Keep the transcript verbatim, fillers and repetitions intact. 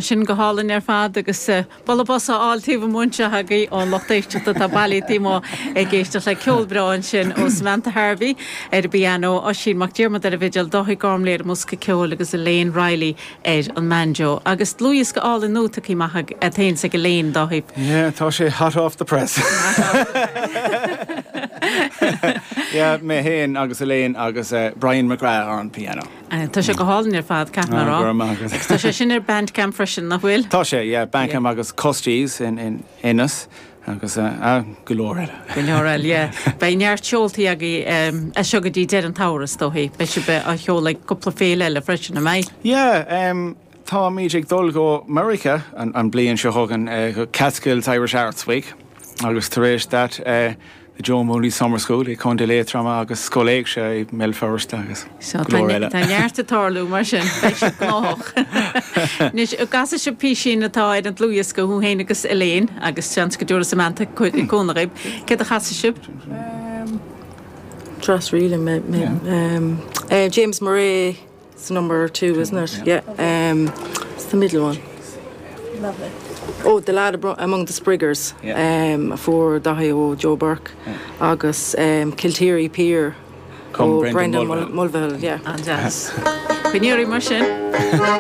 Sin go hálainn ar fad agus bualadh bos á fháil taobh amuigh anseo agaibh ón lucht éisteachta atá bailithe taobh amuigh ag éisteacht le ceol breá ansin ó Samantha Harvey ar an bpianó, Oisín Mac Diarmada ar an bhfidil, Dáithí Gormley ar an mbosca ceoil agus Elaine Riley ar an mbanjo. Agus dlúthdhiosca álainn nua tugtha amach agat féin is ag Elaine, Dáithí. Yeah, tá sé hot off the press. Yeah, mé féin agus Elaine agus uh, Brian McGrath ar an piano. Uh, tá sé go hálainn ar fad caithfidh mé a rá. Ah, go raibh maith agat. Agus tá sé sin ar Bandcamp freisin nach bhfuil? Tá sé, yeah, Bandcamp agus Costies in, in Ennis agus uh, uh, go leor eile. Go leor eile, yeah. Beidh neart seoltaí agaibh um, as seo go dtí deireadh an tsamhraidh is dóichí. Beidh sibh á sheoladh ag cúpla féile eile freisin an mbeidh. Yeah, um, táimid ag dul go America an, an bliain seo chugainn uh, go Catskills Irish Arts Week agus tar éis that uh, the Joe Mooney Summer School i Contae Liatroma agus Scoil Éigse i mBéal Feirste agus So go leor eile. Tá neart ag tarlú mar sin beidh sibh gnóthach. Anois casfaidh sibh písín atá ar an dlúthdhiosca thú féin agus Elaine agus seans go dtabharfaidh Samantha cúnamh daoibh. Céard a chasfaidh sibh? Dress really me, me, um, uh, James Murray is number two, isn't it? Yeah. Um, it's the middle one. Lovely. Oh, the lad abro- among the Spriggers. Yeah. Um, for Dáithí ó Joe Burke agus um, Kilteary Pier Cum ó Brendan Brendan Mulvihill. Mul Mulvihill, yeah. An-deas. Coinneoirí mar sin.